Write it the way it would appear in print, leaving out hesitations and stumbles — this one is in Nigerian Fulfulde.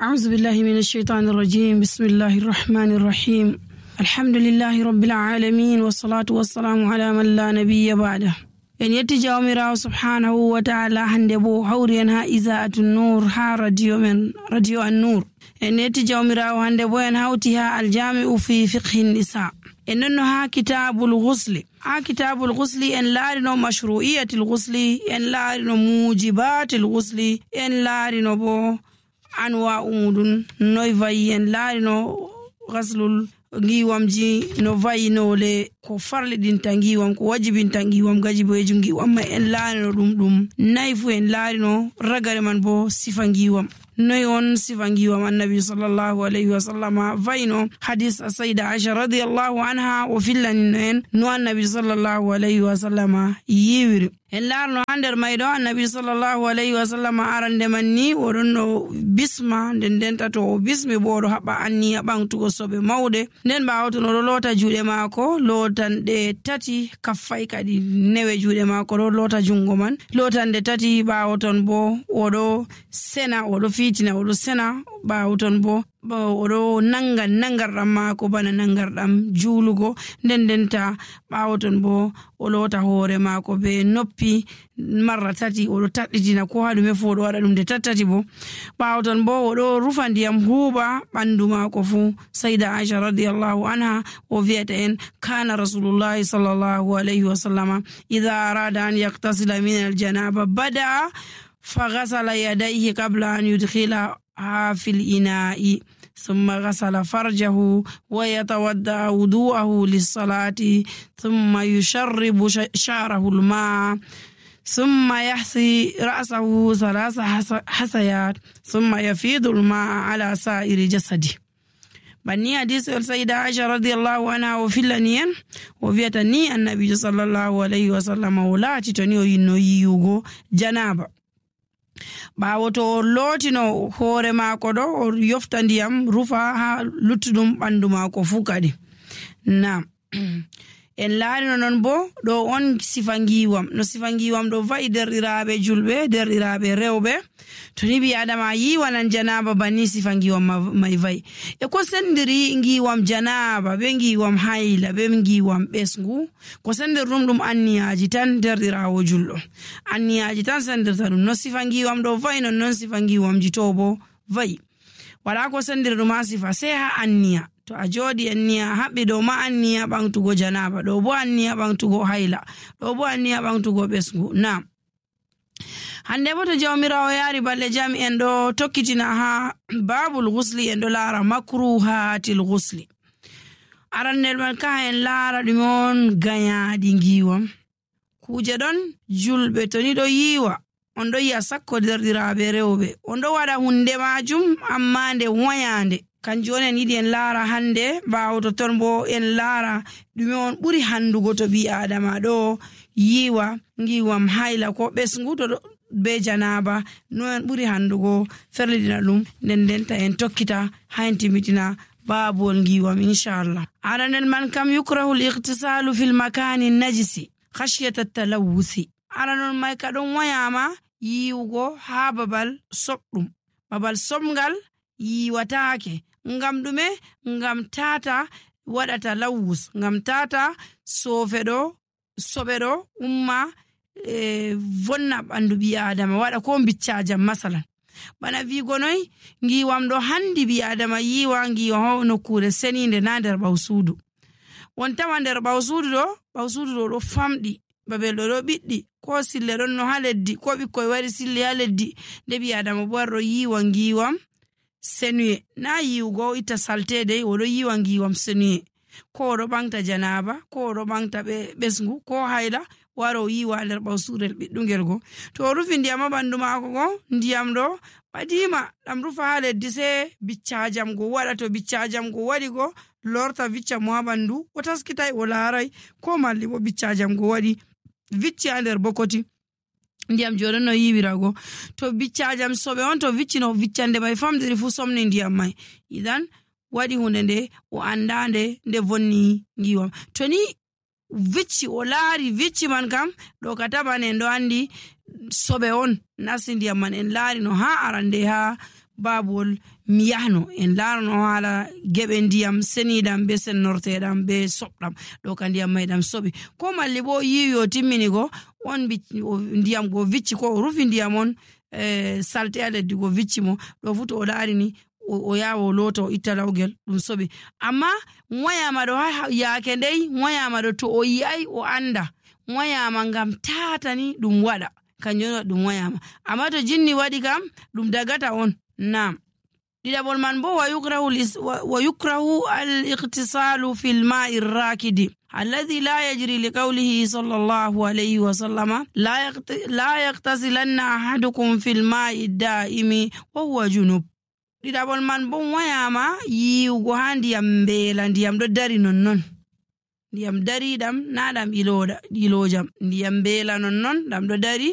أعوذ بالله من الشيطان الرجيم. بسم الله الرحمن الرحيم. الحمد لله رب العالمين والصلاة والسلام على من لا نبي بعده. en yetti jawmirawo subhanahu wa ta'ala hande bo hawri en ha Iza'atun Nur ha radio an-Nur. en yetti jawmirawo hande bo en hawti ha aljami'u fi fiqhi nisa. en nonno ha kitabul ghusli. ha kitabul ghusli en laarino mashru'iyatil ghusli, en laarino mujibatil ghusli, en laarino bo anwa umudun noy vayi, en laarino ghaslul ngiwamji no vayinole ko farlidinta ngiwam, ko wajibinta ngiwam, gajiboyeju ngiwam ma en laarino ɗum nayfu en laarino ragare man bo sifa ngiwam. noy on sifa ngiwam annabi sallallahu alayhi wa sallama vayino hadis sayda Aisha radiyallahu anha o fillanino en no annabi sallallahu alayhi wa sallama yiwiri. en laarno ha nder mayɗo annabi sallallahu alayhi wa sallama arande man ni oɗon no bisma, nden tato o bismi bo oɗo haɓa anniya ɓamtugo soɓe mawɗe, nden ɓawo ton oɗo loota juuɗe maako lootanɗe tati, kaffay kadi newe juuɗe maako ɗo loota jungo man lootanɗe tati. ɓawo ton bo oɗo sena, oɗo fiitina, oɗo sena. ɓawo ton bo oɗo nangarɗam maako bana nangarɗam juulugo, ndenta ɓawo ton bo o loota hoore maako be noppi marra tati, oɗo taɗɗitina ko ha ɗume fu oɗo waɗa ɗum de tattati bo. ɓawo ton bo oɗo rufa ndiyam huuɓa ɓandu maako fu. sayda Aisha radiyallahu anha o wiyata en kana rasulullahi sallallahu alayhi wa sallama idha arada an yaktasila min aljanaba bada'a faghasala yadayhi qabla an yudkhila في الإناء ثم غسل فرجه ويتودع وضوءه للصلاة ثم يشرب شعره الماء ثم يحثي رأسه 3 حثيات ثم يفيض الماء على سائر جسده. بني حديث السيدة عائشة رضي الله عنها وفلانيا وفيتني النبي صلى الله عليه وسلم ولا تتنيو ينو جنابه. ɓawo to o lootino hoore maako ɗo o yofta ndiyam rufa ha luttuɗum ɓandu maako fu kadi. na en laarino non bo ɗo on sifa ngiwam, no sifa ngiwam ɗo va'i derɗiraɓe julɓe, derɗiraɓe rewɓe. to ni ɓi adama yiwanan janaba banni sifa ngiwam may va'i. e ko sendiri ngiwam janaba be ngiwam hayla be ngiwam ɓesngu, ko sendir ɗum anniyaji tan derɗirawo julɗo, anniyaji tan sendirta ɗum. no sifa ngiwam ɗo va'i non sifa ngiwamji to bo va'i. wala ko sendir ɗum ha sifa sai ha anniya. to a jooɗi anniya haɓɓi ɗo ma anniya ɓamtugo janaba, ɗo bo anniya ɓamtugo hayla, ɗo bo anniya ɓamtugo ɓesngu. na hande bo to jawmirawo yaari balɗe jam en ɗo tokkitina ha babul ghusli, en ɗo laara makruhatil ghusli. arannel man ka en laara ɗume on gayaɗi ngiwam. kuje ɗon julɓe to ni ɗo yiwa, on ɗo yi'a sakko derɗiraɓe rewɓe, on ɗo waɗa hunde majum amma nde wayande. kanjum on en yiɗi en laara hande. ɓawo to ton bo en laara ɗume on ɓuri handugo to ɓi adama ɗo yiwa ngiwam hayla ko ɓesngu to be janaba, no en ɓuri handugo ferlidina ɗum, ndenta en tokkita ha en timitina babol ngiwam inchallah. aranel man kam yukrahu al-ightisalu fil makani najisi khashyata at-talawuthi. aranon may ka ɗon wayama yiwugo ha babal soɓɗum, babal somgal yiwatake. ngam ɗume? ngam tata waɗata lawus, ngam tata soɓe ɗo umma vonna ɓandu ɓi adama, waɗa ko biccajam masalan. bana wigo noy ngiwam ɗo handi ɓi adama yiwa ngiwa nokkure seninde na nder ɓawsudu. won tawa nder ɓawsudu ɗo ɗo famɗi, babel ɗo ɓiɗɗi, ko sille ɗon no ha leddi, ko ɓikkoy wari sille ha leddi, nde ɓi adama bo ɗo yiwa ngiwam senuye. na yiwugo itta saltede, oɗo yiwa ngiwam senuye, ko oɗo ɓangta janaba, ko oɗo ɓangta ɓesngu ko hayla, waro yiwa nder ɓawsurel ɓiɗɗungel go. to o rufi ndiyam ha ɓandu maako go, ndiyam ɗo ɓadima ɗam rufa ha leddi, sai biccajam go waɗa. to biccajam go waɗi go lorta vicca mo ha ɓandu, o taskitai o laarai, ko malli bo biccajam go waɗi vicci ha nder bokoti ndiyam joɗon no yiwirago. to biccajam soɓe on to viccino viccande may famdiri fu somni ndiyam may, idan waɗi hunde nde o andande nde vonni ngiwam. to ni vicci o laari vicci man kam ɗo ka taban en ɗo andi soɓe on nasti ndiyam man. en laari no ha arande ha babuwol mi yahno en laarano haala geɓe ndiyam seniɗam be sennorteɗam be soɓɗam ɗo ka ndiyam may ɗam soɓi ko malli bo yiwi o timmini go on ndiyam go vicci ko o rufi ndiyam on salte a leddi go vicci mo ɗo fu to o laarini o yawa o lota o itta lawgel ɗum soɓi amma wayama ɗo yaake ndey wayama ɗo to o yi'ai o anda wayama ngam tatani ɗum waɗa kanjum on ɗum wayama amma to jinni waɗi kam ɗum dagata on nam ɗiɗaɓol man bo wa yukrahu al-iqtisalu fil ma'i rakidi alladhi la yajri li qawlihi sallallahu alayhi wa sallama la yaqtasilanna ahadukum fil ma'i da'imi wa huwa junub ɗiɗaɓol man bo wayama yiwugo ha ndiyam mbeela ndiyam ɗo dari nonnon ndiyam dariɗam na ɗam ilojam ndiyam mbeela nonnon ɗam ɗo dari